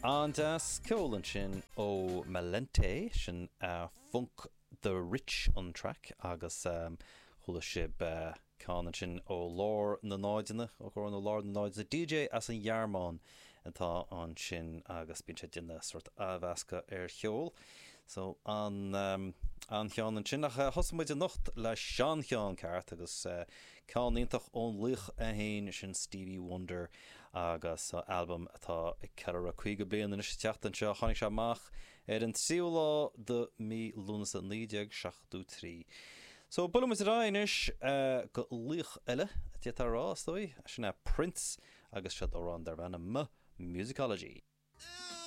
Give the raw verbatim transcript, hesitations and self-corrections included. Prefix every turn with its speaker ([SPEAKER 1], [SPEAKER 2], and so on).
[SPEAKER 1] An-deas ceol ansin ó Malente sin uh, Funk the Rich an track agus um, chuala sibh uh, ceann ansin ó lár na náideanna ó ó nó lár na náideanna DJ as an Ghearmáin atá ansin agus bíonn sé ag déanamh sort athmheascadh ar cheol. So an um, an cheann ansin ach uh, thosaigh muid anocht le seancheann ceart agus uh, ceann iontach ón laoch é féin sin Stevie Wonder agus uh, albam atá ag ceiliúradh caoga bliain anois teacht anseo tháinig sé amach ar an tríú lá de mí Lúnasa naoi déag seachtó trí. So buailimid ar aghaidh anois uh, go laoch eile a rá stoi sin é Prince agus seo amhrán darb ainm Musicology.